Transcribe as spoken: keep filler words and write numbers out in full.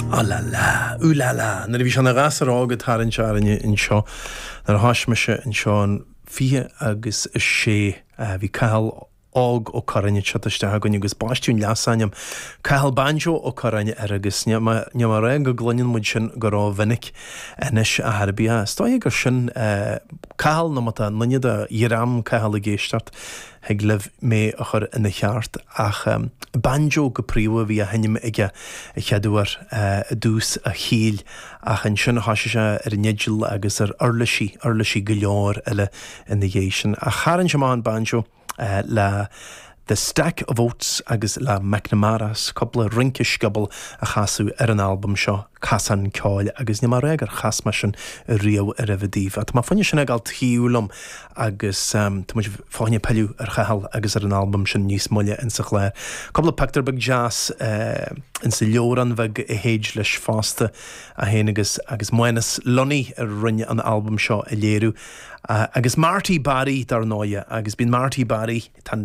Ah la la, ooh la la, nuair a bhí sé ina ghasúr óg ag tarraingt orainne anseo nuair a thosaigh mise anseo in fiche agus a sé bhí Cathal Óg Ó Curráin ag teacht isteach againn agus baisteadh an leasainm Cathal Banjo Ó Curráin air agus níl mé níl mé ag rá go gcluineann muid sin go rómhinic anois a ar bith. Is dóigh gur sin Cathal nó má tá duine de dhream Cathal ag éisteacht thig libh mé a chur ina cheart ach banjo go príomha a bhí á sheinm aige a chéad uair i dtús a shaoil ach ansin thosaigh sé ar an fhidil agus ar uirlisí, uirlisí go leor eile ina dhiaidh sin. Ach tharraing sé amach an banjo le The Stack of Oats agus le McNamara's cúpla rince scioból a chasadh ar an albam seo Casán Ceoil agus níl mé ag rá gur chas mé sin riamh roimhe daoibh. Tá mé fá choinne sin a ghabháil taobh liom agus tá muid fá choinne pilleadh ar Chathal agus ar an albam sin níos moille insa chlár. Cúpla pictiúr beag deas insa leabhrán bheag a théid leis fosta a fhéin agus agus Mánas Lunny a rinne an albam seo a léiriú. Agus Marty Barry dar ndóighe agus bíonn Marty Barry tá